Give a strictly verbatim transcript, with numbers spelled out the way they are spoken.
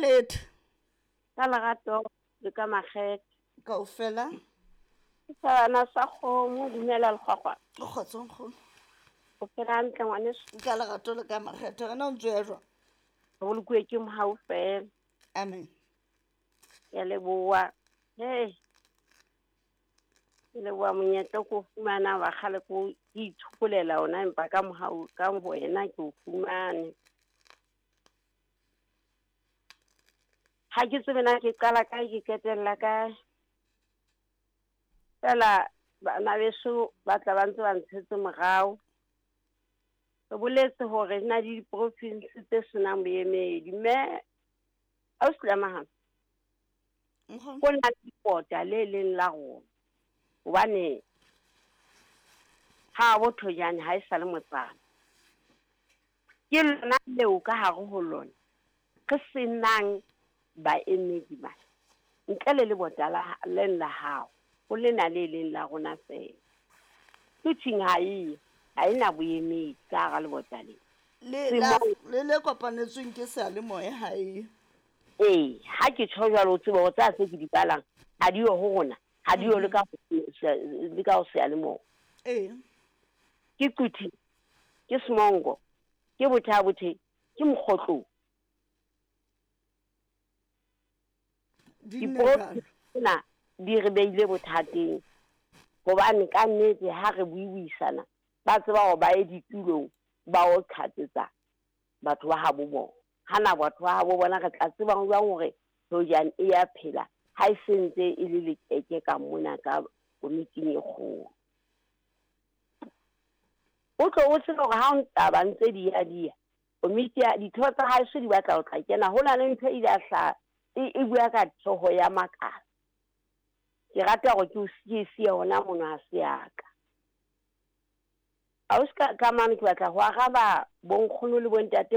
Letho. Ka lerato le ka makgethe. Kaofela. Ke thabana sa kgomo, dumela lekgwakgwa. O kgotso nkgono. O phela hantle ngwaneso? Ka lerato le ka makgethe. Wena o ntso ya jwang? Re bolokuwe ke mohau fela. Amen. Ke a leboha. Hey. Ke leboha monyetla o ko o fumana wa kgale ko ke itshokolela ona empa ka mohau ka wena ke o fumane. Ha ke tsebe na ke qala kae ke qetella kae. Fela bana beso ba tla ba ntse ba ntshetse morao. Re boletse hore na le diprovinsi tse senang boemedi, mme ausi Lamahana Nkgono. ho na le lebota le leng la rona. Hobane ha bo Thojane ha e sa le motsana. Ke lona leo ka hare ho lona re senang baemedi bana. Ntle le lebota la leng la hao, ho lena le leng la rona fela. Quthing ha eyo, ha ena boemedi ka hara lebota lena. Le Se la mo- le le kopanetsweng ke seyalemoya ha eyo. Ee, ha ke tjho jwalo o tsebe hore tsa tse ke di balang ha di yo ho rona, ha di yo le ka le ka ho seyalemoya. Ee. Ke Quthing, ke Semongo, ke Botha-Bothe, ke Mokgotlong. Di nne Diprovinsi jwalo. tsena di re beile bothateng hobane ka nnete ha re buibuisana ba tseba hore ba ye ditulong ba o qhatsetsa batho ba habo bona. Hana batho ba habo bona re tla tseba jwang hore Thojane e ya phela ha e sentse e le lekeke ka mona ka komiting e kgolo. O tlo o tsebe hore ha o taba ntse di ya di ya, komiti ya ditho tsa haeso di batla ho tla kena. Ho na le ntho e ile ya hlaha e, e bua ka theho ya makala. Ke rata hore ke o siye siye hona mono ha se ya ka. Ausi ka, ka mane ke batla ho araba bonkgono le bontate